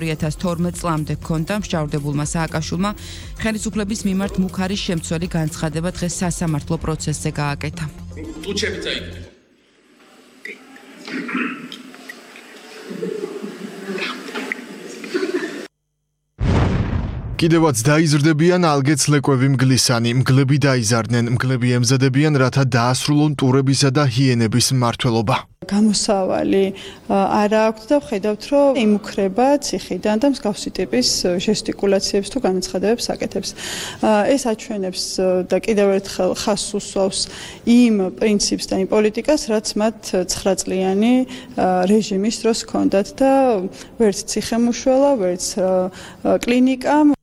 2012 წლამდე ჰქონდა მსჯავრდებულმა სააკაშვილმა ხელისუფლების მიმართ მუქარის შემცველი განცხადება დღეს სასამართლო პროცესზე გააკეთა. ტუჩები წაიგდო. კიდევაც დაიზრდებიან ალგეც ლეკვევი მგლისანი, მგლები დაიზარდნენ, მგლები ემზადებიან, რათა დაასრულონ ტურებისა და ჰიენების მმართველობა. გამოსავალი არა აქვთ და ვხედავთ, რომ იმუქრება ციხიდან და მსგავსი ტიპის ჟესტიკულაციებს თუ განაცხადებებს აკეთებს. ეს აჩვენებს და კიდევ ერთხელ ხაზს უსვავს იმ პრინციპს და იმ პოლიტიკას, რაც მათ 9 წლიანი რეჟიმის დროს ჰქონდათ და ვერც ციხემუშველა, ვერც კლინიკა.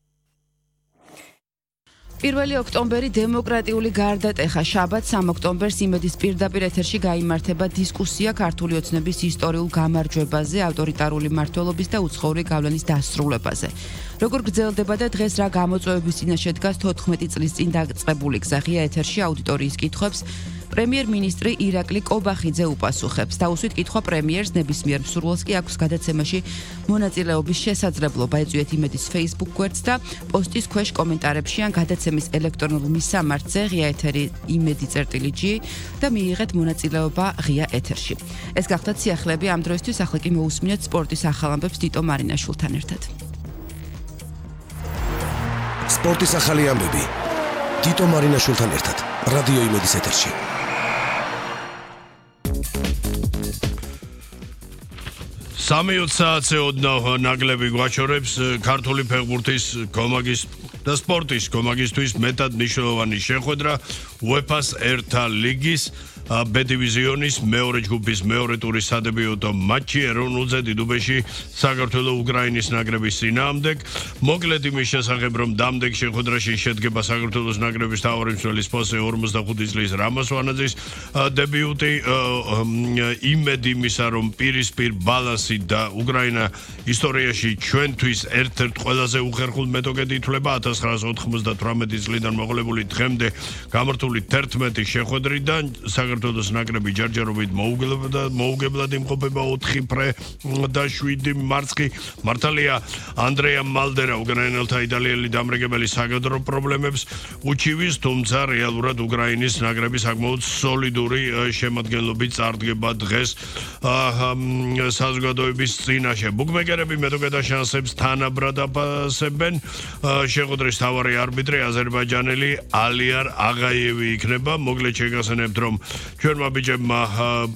1 ოქტომბერი დემოკრატიული გარდატეხა. შაბათს 3 ოქტომბერს იმედის პირდაპირ ეთერში გაიმართება დისკუსია ქართული ოცნების ისტორიულ გამარჯვებაზე, ავტორიტარული მმართველობის და უცხოური გავლენის დასრულებაზე. როგორ გრძელდება და დღეს რა გამოწვევების წინაშე დგას 14 წლის წინ დაწყებული გზა ღია ეთერში აუდიტორიის კითხვებს პრემიერ-მინისტრი ირაკლი კობახიძე უპასუხებს. დაუსვით კითხვა პრემიერს, ნებისმიერ მსურველს კი აქვს გადაცემაში მონაწილეობის შესაძლებლობა. ეწვიეთ იმედის Facebook გვერდს და პოსტის ქვეშ კომენტარებში ან გადაცემის ელექტრონულ მისამართზე ღია ეთერი იმედი.g და მიიღეთ მონაწილეობა ღია ეთერში. ეს გახდათ სიახლეები ამ დროისთვის, ახლა კი მოусმინეთ სპორტის ახალ ამბებს თიტო მარინაშვილთან ერთად. სპორტის ახალი ამბები თიტო მარინაშვილთან ერთად რადიო იმედის ეთერში. სამი საათზე ოდნავ ნაკლები გვაჩორებს ქართული ფეხბურთის კომაგის და სპორტის კომაგისთვის მეტად მნიშვნელოვანი შეხვედრა UEFA-ს ერთა ლიგის B დივიზიონის მეორე ჯგუფის მეორე ტურის სადებიუტო მატჩი ეროვნულზე დიდუბეში საქართველოს უკრაინის ნაკრების წინააღმდეგ. მოკლედ იმის შესახებ, რომ დამდეგ შეხვედრაში შედგება საქართველოს ნაკრების მთავარი მცველის პოსტზე 45 წლის რამაზ ვანაძის დებიუტი, იმედი იმისა, რომ პირისპირ ბალანსი და უკრაინა ისტორიაში ჩვენთვის ერთ-ერთ ყველაზე უხერხულ მეტოქედ ითვლება 1998 წლიდან მოყოლებული დღემდე გამართული 11 შეხვედრიდან საქართველოს ნაკრები ჯერჯერობით მოუგებლად იმყოფება 4 ფრე და 7 მარცხი. მართალია ანდრეა მალდერა უკრაინელთა იტალიელი დამრიგებელი საკადრო პრობლემებს უჩივის, თუმცა რეალურად უკრაინის ნაკრები საკმაოდ სოლიდური შემადგენლობით წარდგება დღეს საზოგადოების წინაშე. ბუკმეკერები მეტოქეთა შანსებს თანაბრად აფასებენ. შეხვედრის მთავარი არბიტრი აზერბაიჯანელი ალიარ აღაიევი იქნება. მოკლედ შეგახსენებთ, რომ ჩვენმა ბიჭებმა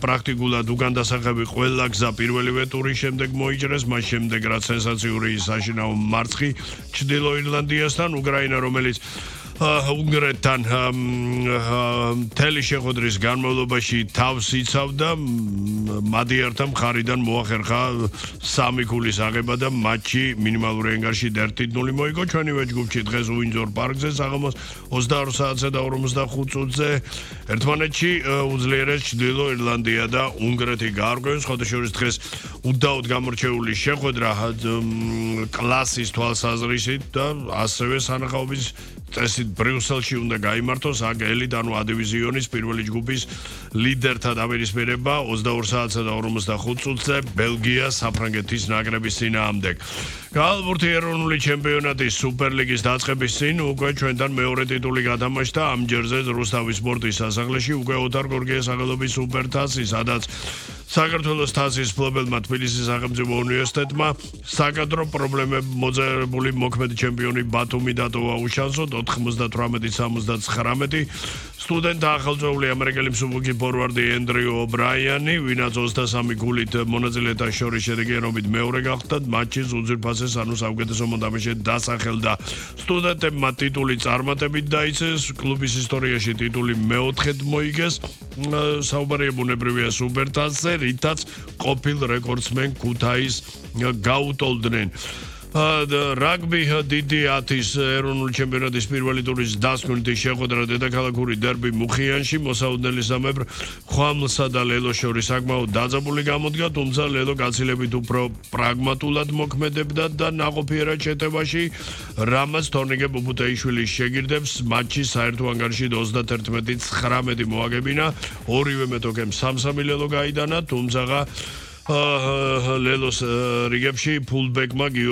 პრაქტიკულად უკან დასახები ყველა გზა პირველივე ტურის შემდეგ მოიჭრეს, მას შემდეგ რაც სენსაციური საშინაო მარცხი ჩრდილო ირლანდიასთან, უკრაინა რომელიც უნგრეთთან მთელი შეხვედრის განმავლობაში თავს იცავდა, მადიართა მხარიდან მოახერხა 3 ქულის აღება და მატჩი მინიმალური ანგარში 1-0 მოიგო. ჩვენივე ჯგუფში დღეს უინძორ პარკზე საღამოს 22 საათზე და 45 წუთზე ერთმანეთში უძლიერეს ჩრდილო ირლანდია და უნგრეთი გაარკვევს. ხოდაშორის დღეს უდაოდ გამორჩეული შეხვედრა კლასის თვალსაზრისით და ასევე სანახაობის წესით ბრიუსელში უნდა გაიმართოს აქ ელიტ ანუ A დივიზიონის პირველი ჯგუფის ლიდერთა დაპირისპირება 22 საათსა და 45 წუთზე ბელგია საფრანგეთის ნაკრების წინააღმდეგ. ქალბურთი ეროვნული ჩემპიონატის სუპერლიგის დაწყების წინ უკვე ჩვენთან მეორე ტიტული გადამაშდა. ამ ჯერზე რუსთავის სპორტის სასახლეში უკვე ოთარ გორგიეს სახელობის სუპერთასი, სადაც საქართველოს თასის მფლობელმა თბილისის სახელმწიფო უნივერსიტეტმა საკადრო პრობლემები მოძებნებული მოქმედი ჩემპიონი ბათუმი დატოვა უშანსოდ 98-79. სტუდენტთა ახალწეული ამერიკელი მსუბუქი ფორვარდი ენდრიუ ობრაიანი, ვინაც 23 გულით მონაწილეთა შორის შედეგიანობით მეორე გახდა, მატჩის უძვირფასეს ანუ საუკეთესო მომთაბეში დასახელდა. სტუდენტებმა ტიტული წარმატებით დაიცეს, კლუბის ისტორიაში ტიტული მეოთხედ მოიგეს. საუბარია ბუნებრივია სუპერთასზე, რითაც ყოფილ რეკორდსმენ ქუთაისს გაუტოლდნენ. რაგბი დიდი 10-ის ეროვნული ჩემპიონატის პირველი ტურის დასკვნითი შეხვედრა დედაქალაქური დერბი მუხიანში მოსაუდნელისამებრ ხვამლსა და ლელოს შორის საკმაოდ დაძაბული გამოდგა, თუმცა ლელო გაცილებით უფრო პრაგმატულად მოქმედებდა და ნაყოფიერად შეტევაში რამაც თორნიკე ბუბუთეიშვილის შეგირდებს მატჩის საერთო ანგარიში 31-19 მოაგებინა. ორივე მეტოქემ 3-3 ლელო გაიდანა, თუმცა ლელოს რიგებში ფულბეკმა გიორგი